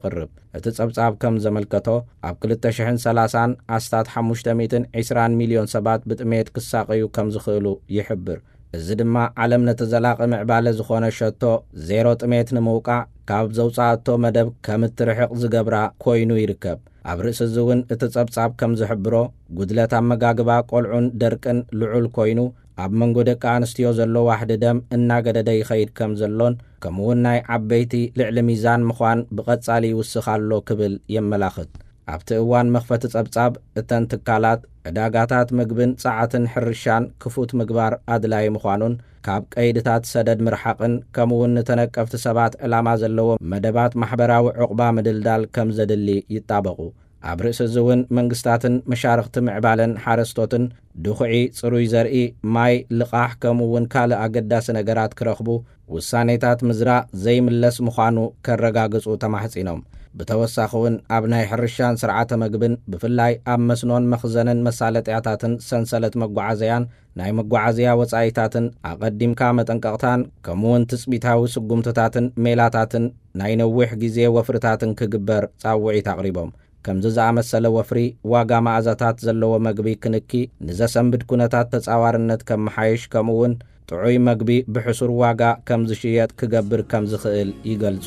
ይቕርብ። እቲ ጸብጻብ ከም ዘመልከቶ፣ ኣብ ክልተ ሽሕን ሰላሳን ኣስታት ሓሙሽተ ሚእትን ዕስራን ሚልዮን ሰባት ብጥሜት ክሳቐዩ ከም ዝኽእሉ ይሕብር። እዚ ድማ ዓለም ነቲ ዘላቒ ምዕባለ ዝኾነ ሸቶ ዜሮ ጥሜት ንምውቃዕ ካብ ዘውጻኣቶ መደብ ከም እትርሕቕ ዝገብራ ኮይኑ ይርከብ። ኣብ ርእሲ እዚ እውን እቲ ጸብጻብ ከም ዝሕብሮ፣ ጉድለት ኣመጋግባ ቆልዑን ደርቅን ልዑል ኮይኑ፣ ኣብ መንጎ ደቂ ኣንስትዮ ዘሎ ዋሕዲ ደም እናገደደ ይኸይድ ከም ዘሎን፣ ከምኡውን ናይ ዓበይቲ ልዕሊ ሚዛን ምዃን ብቐጻሊ ይውስኽ ኣሎ ክብል የመላኽት። ኣብቲ እዋን መኽፈቲ ጸብጻብ፣ እተን ትካላት ዕዳጋታት ምግብን ጸዓትን ሕርሻን ክፉት ምግባር ኣድላዪ ምዃኑን፣ ካብ ቀይድታት ሰደድ ምርሓቕን፣ ከምኡውን ንተነቀፍቲ ሰባት ዕላማ ዘለዎ መደባት ማሕበራዊ ዕቑባ ምድልዳል ከም ዘድሊ ይጣበቑ። ኣብ ርእሲ እዚ እውን መንግስታትን መሻርኽቲ ምዕባለን ሓረስቶትን ድኹዒ፣ ጽሩይ ዘርኢ፣ ማይ፣ ልቓሕ ከምኡ እውን ካልእ ኣገዳሲ ነገራት ክረኽቡ፣ ውሳኔታት ምዝራእ ዘይምለስ ምዃኑ ከረጋግጹ ተማሕጺኖም። ብተወሳኺ እውን ኣብ ናይ ሕርሻን ስርዓተ መግብን፣ ብፍላይ ኣብ መስኖን መኽዘንን መሳለጥያታትን ሰንሰለት መጓዓዘያን ናይ መጓዓዝያ ወጻኢታትን ኣቐዲምካ መጠንቀቕታን ከምኡውን ትጽቢታዊ ስጉምትታትን ሜላታትን ናይ ነዊሕ ግዜ ወፍርታትን ክግበር ጻውዒት ኣቕሪቦም። ከምዚ ዝኣመሰለ ወፍሪ ዋጋ መኣዛታት ዘለዎ መግቢ ክንኪ ንዘሰንብድ ኩነታት ተጻዋርነት ከመሓይሽ ከምኡውን ጥዑይ መግቢ ብሕሱር ዋጋ ከም ዝሽየጥ ክገብር ከም ዝኽእል ይገልጹ።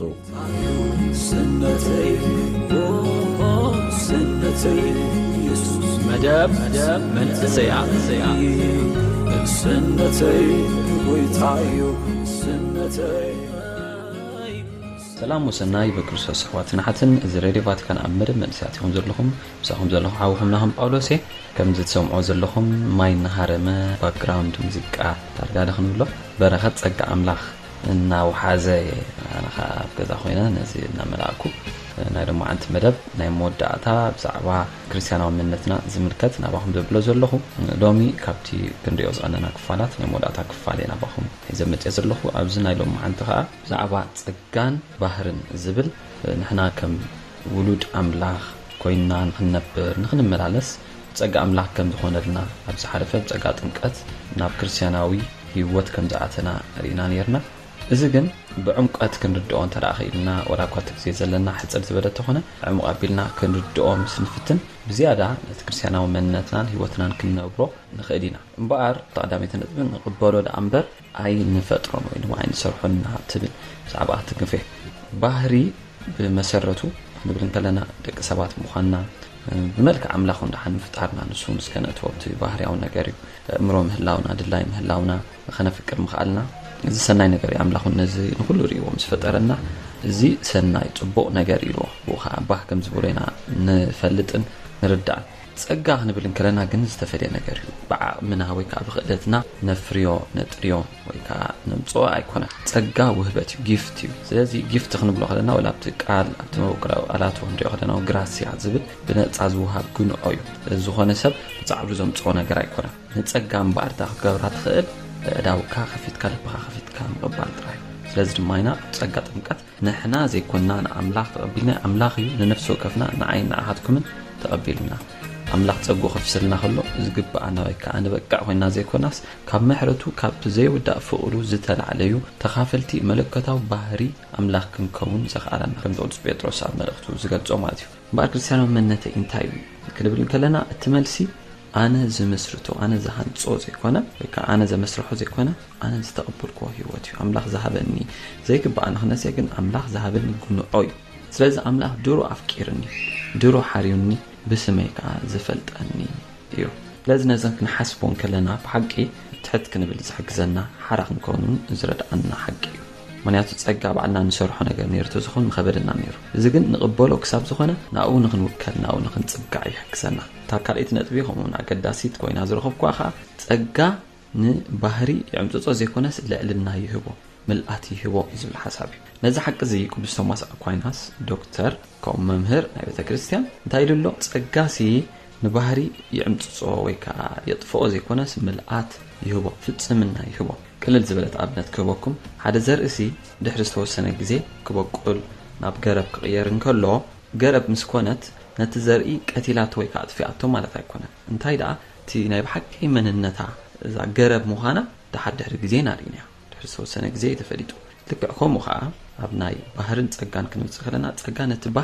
ስነተይ ስነተይ የሱስ መደብ መንእሰያ ስነተይ ጎይታዩ ስነተይ። ሰላም ወሰናይ በክርስቶስ ኣሕዋትን ኣሓትን። እዚ ሬድዮ ቫቲካን ኣብ መደብ መንእሰያት ኢኹም ዘለኹም። ምሳኹም ዘለኹ ሓውኹም ናኹም ጳውሎስ እየ። ከምዚ ትሰምዖ ዘለኹም ማይ እናሃረመ ባክግራውንድ ሙዚቃ ዳርጋ ዶ ክንብሎ በረኸት ጸጋ ኣምላኽ እናውሓዘ እየ። ኣነ ኸዓ ኣብ ገዛ ኮይነ ነዚ እናመላእኩ ናይ ሎማዓንቲ መደብ ናይ መወዳእታ ብዛዕባ ክርስትያናዊ መንነትና ዝምልከት ናባኹም ዘብሎ ዘለኹ። ሎሚ ካብቲ ክንሪኦ ዝቐነና ክፋላት ናይ መወዳእታ ክፋል እየ ናባኹም ሒዘ መፅየ ዘለኹ። ኣብዚ ናይ ሎማዓንቲ ኸዓ ብዛዕባ ጸጋን ባህርን ዝብል ንሕና ከም ውሉድ ኣምላኽ ኮይንና ንኽንነብር ንኽንመላለስ ጸጋ ኣምላኽ ከም ዝኾነልና ኣብ ዝሓለፈ ብጸጋ ጥምቀት ናብ ክርስትያናዊ ህይወት ከም ዝኣተና ርኢና ነይርና። እዚ ግን ብዕምቀት ክንርድኦ እንተ ደኣ ኽኢልና፣ ወላ እኳ እቲ ግዜ ዘለና ሕጽር ዝበለ እንተኾነ፣ ዕሙቕ ኣቢልና ክንርድኦ ምስ ንፍትን፣ ብዝያዳ ነቲ ክርስትያናዊ መንነትናን ህይወትናን ክንነብሮ ንኽእል ኢና። እምበኣር፣ እታ ቀዳመይቲ ነጥቢ ንቕበሎ ደኣ እምበር ኣይንፈጥሮን ወይ ድማ ኣይንሰርሖን ኢና ትብል ብዛዕባ ትንክፍ እየ። ባህሪ ብመሰረቱ ክንብል እንከለና ደቂ ሰባት ምዃንና፣ ብመልክዕ ኣምላኽ እውን ደሓን ምፍጣርና፣ ንሱ እውን እስከ ነእትዎ፣ እቲ ባህርያዊ ነገር እዩ። ኣእምሮ ምህላውና፣ ድላይ ምህላውና፣ ከነፍቅር ምኽኣልና፣ እዚ ሰናይ ነገር እዩ። ኣምላኽ እውን ነዚ ንኹሉ ርእይዎ ምስ ፈጠረና፣ እዚ ሰናይ ጽቡቕ ነገር ኢልዎ። ብኡ ኸዓ ባህ ከም ዝበሎ ኢና ንፈልጥን ንርዳእን። ጸጋ ክንብል እንከለና ግን ዝተፈልየ ነገር እዩ። ብዓቕምና ወይ ከዓ ብኽእለትና ነፍርዮ፣ ነጥርዮ ወይ ከዓ ነምጽኦ ኣይኮነን። ጸጋ ውህበት እዩ፣ ጊፍት እዩ። ስለዚ ጊፍት ክንብሎ ከለና ወላ ኣብቲ ቃል፣ ኣብቲ መበቆላዊ ቃላቱ ክንሪኦ ከለና እውን ግራስያ ዝብል ብነጻ ዝወሃብ ግንዖ እዩ። ስለዚ ዝኾነ ሰብ ብጻዕሩ ዘምጽኦ ነገር ኣይኮነን። ንጸጋ እምበኣር እታ ክትገብራ ትኽእል፣ ኣእዳውካ ከፊትካ፣ ልብኻ ከፊትካ ምቕባል ጥራይ እዩ። ስለዚ ድማ ኢና ጸጋ ጥምቀት ንሕና ዘይኮንና ንኣምላኽ ተቐቢልና፣ ኣምላኽ እዩ ንነፍሲ ወከፍና ንዓይን ንዓኻትኩምን ተቐቢሉና። ኣምላኽ ጸግኡ ከፍስልና ከሎ ዝግብኣና ወይ ከኣ ንበቅዕ ኮይንና ዘይኮናስ፣ ካብ ምሕረቱ ካብቲ ዘይውዳእ ፍቕሩ ዝተላዕለ እዩ። ተኻፈልቲ መለኮታዊ ባህሪ ኣምላኽ ክንከውን ዘኽኣለና፣ ከምቲ ቅዱስ ጴጥሮስ ኣብ መልእኽቱ ዝገልጾ ማለት እዩ። እምበኣር ክርስትያናዊ መንነተይ እንታይ እዩ ክንብል እንከለና፣ እቲ መልሲ ኣነ ዝምስርቶ፣ ኣነ ዝሃንጾ ዘይኮነ፣ ወይ ከኣ ኣነ ዘመስርሖ ዘይኮነ፣ ኣነ ዝተቐበልክዎ ህይወት እዩ። ኣምላኽ ዝሃበኒ፣ ዘይግብኣኒ ክነስየ ግን ኣምላኽ ዝሃበኒ ግንዖ እዩ። ስለዚ ኣምላኽ ድሮ ኣፍቂርኒ፣ ድሮ ሓርዩኒ፣ ብስመይ ከኣ ዝፈልጠኒ እዩ። ስለዚ ነዘን ክንሓስቦ እንከለና ብሓቂ ትሕት ክንብል ዝሕግዘና፣ ሓራ ክንከውን ዝረድኣና ሓቂ እዩ። ምኽንያቱ ጸጋ ባዕልና ንሰርሖ ነገር ነይሩ ተዝኾን ምኸበደና ነይሩ። እዚ ግን ንቕበሎ ክሳብ ዝኾነ ናብኡ ንኽንውከል፣ ናብኡ ንኽንጽጋዕ ይሕግዘና። እታ ካልኣይቲ ነጥቢ ከምኡውን ኣገዳሲት ኮይና ዝረኸብኩዋ ኸኣ ጸጋ ንባህሪ ይዕምጽጾ ዘይኮነስ ልዕልና ይህቦ፣ ምልኣት ይህቦ እዩ ዝብል ሓሳብ እዩ። ነዚ ሓቂ እዚ ቅዱስ ቶማስ ኣኳይናስ፣ ዶክተር ከምኡ መምህር ናይ ቤተ ክርስቲያን እንታይ ኢሉ ኣሎ? ጸጋሲ ንባህሪ ይዕምጽጾ ወይ ከኣ የጥፍኦ ዘይኮነስ ምልኣት ይህቦ፣ ፍጽምና ይህቦ። ቅልል ዝበለት ኣብነት ክህበኩም፣ ሓደ ዘርእሲ ድሕሪ ዝተወሰነ ግዜ ክበቁል ናብ ገረብ ክቕየር እንከሎ፣ ገረብ ምስ ኮነት ነቲ ዘርኢ ቀቲላቶ ወይ ከኣ ኣጥፊኣቶ ማለት ኣይኮነን። እንታይ ደኣ እቲ ናይ ብሓቂ መንነታ እዛ ገረብ ምዃና ደሓር ድሕሪ ግዜ ኢና ርኢናዮ። ድሕሪ ዝተወሰነ ግዜ እዩ ተፈሊጡ። ልክዕ ከምኡ ኸኣ ኣብ ናይ ባህርን ጸጋን ክንመጽእ ከለና፣ ጸጋ ነቲ ባህር